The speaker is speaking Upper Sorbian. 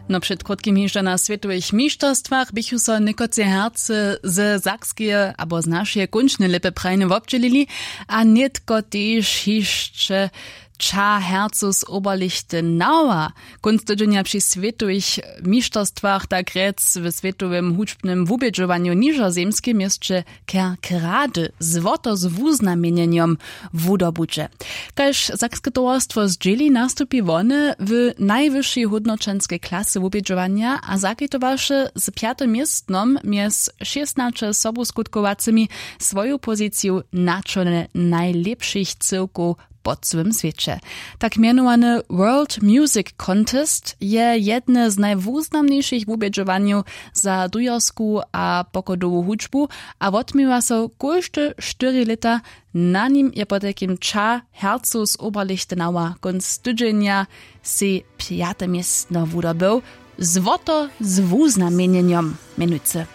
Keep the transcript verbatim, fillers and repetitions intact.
No před krótkim hižo na swětowych mišterstwach běchu so někotře hercy ze sakskeje abo z našeje kónčne lěpy prajnje wobdźělili, a nětko tež hišće tša hercu z oberlichte nauer. Kónc tydźenja při swětowych mišterstwach, tak rjec w swětowym hudźbnym wubědźowanju w nižozemskej měsće kerkrady złoto z wuznamjenjenjom wudobudźe. Kaž sakske towarstwo zdźěli, nastupi wone w najwyšej hódnoćenskej klasy wubědźowanja a zakitowaše z pjatym městnom mjez šěsnaće sobuskutkowacymi swoju poziciju na čole najlěpšich cyłkow po cyłym swěće. Tak mjenowany world music contest je jedne z najwuznamnišich wubědźowanjow za dujersku a pochodowu hudźbu a wotměwa so kóžde štyri lěta. Na nim je potajkim tša hercow z oberlichtenauer kónc tydźenja sej pjate městno wudobył, złoto z wuznamjenjenjom mjenujcy.